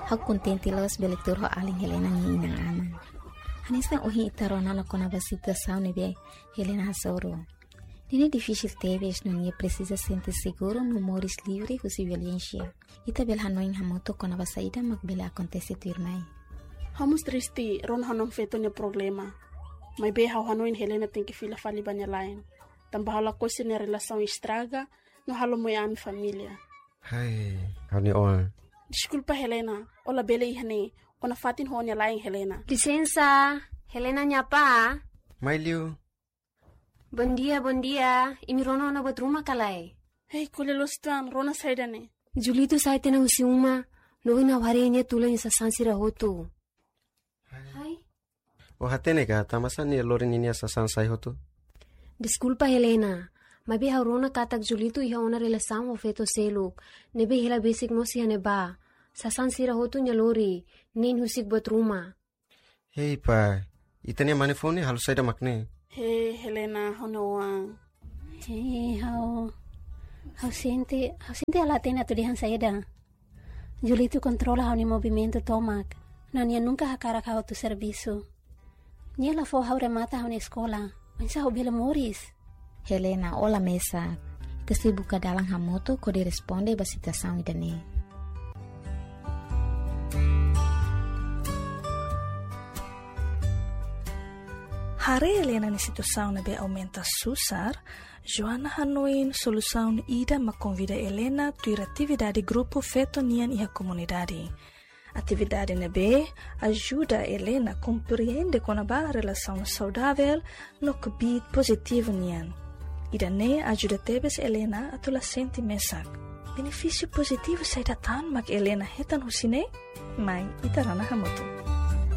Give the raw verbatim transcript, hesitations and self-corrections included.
Ha'u kontente loos bele tuur ho alin Helena nia inan-aman. Hanesan ohin ita rona ona kona-ba situasaun ne'ebé Helena hasoru. Ne'e difisil tebes no nia presiza sente seguru no moris livre husi violénsia. Ita bele hanoin hamutuk kona-ba saida mak bele akontese tuirmai. Ha'u mós triste rona ha'u-nia oan feto nia problema. Maibé ha'u hanoin Helena tenke fila fali ba nia la'en. Tanba ha'u lakohi sira-nia relasaun estraga, no halo moe ami família. Hai, ha'u-nia oan. Deskulpa Helena, ó labele iha ne'e, ó nafatin ho ó-nia la'en Helena. Lisensa, Helena nia apá. Mai liu. Bondia, bondia. Imi rona ona buat ruma ka lae? Hei, ko'alia loos uitoan, rona saida ne'e? Julito sa'e tiha ona husi uma, no ohin ha'u haree nia tula nia sasán sira hotu. Hai. Ó hatene ka, tanbasá nia lori ninia sasán sai hotu? Deskulpa Helena, maibé ha'u rona katak Julito iha ona relasaun ho feto seluk, ne'ebé hela besik mós iha ne'ebá. Sasán sira hotu nia lori, nein husik buat ruma. Hei pá, ita-nia mane foun ne'e halo saida mak ne'e? Hei Helena, ha'u-nia oan. Hei, ha'u, ha'u sente, ha'u sente la hatene atu dehan saida. Julito kontrola ha'u-nia movimentu tomak. No nia nunka hakarak ha'u atu servisu. Nia la fó ha'u remata ha'u-nia eskola. Oinsá ha'u bele moris? Helena, ó la mesak. Ita sei buka dalan hamutuk hodi responde ba situasaun ida-ne'e. Haree Helena nia situasaun ne'ebé aumenta susar, Joana hanoin solusaun ida mak konvida Helena tuir atividade grupu feto nian iha komunidade. Atividade ne'ebé ajuda Helena komprende kona-ba relasaun saudavel no kbiit pozitivu nian. Ida-ne'e ajuda tebes Helena atu la sente mesak. Benefísiu pozitivu saida tan mak Helena hetan husi ne'e? Mai ita rona hamutuk.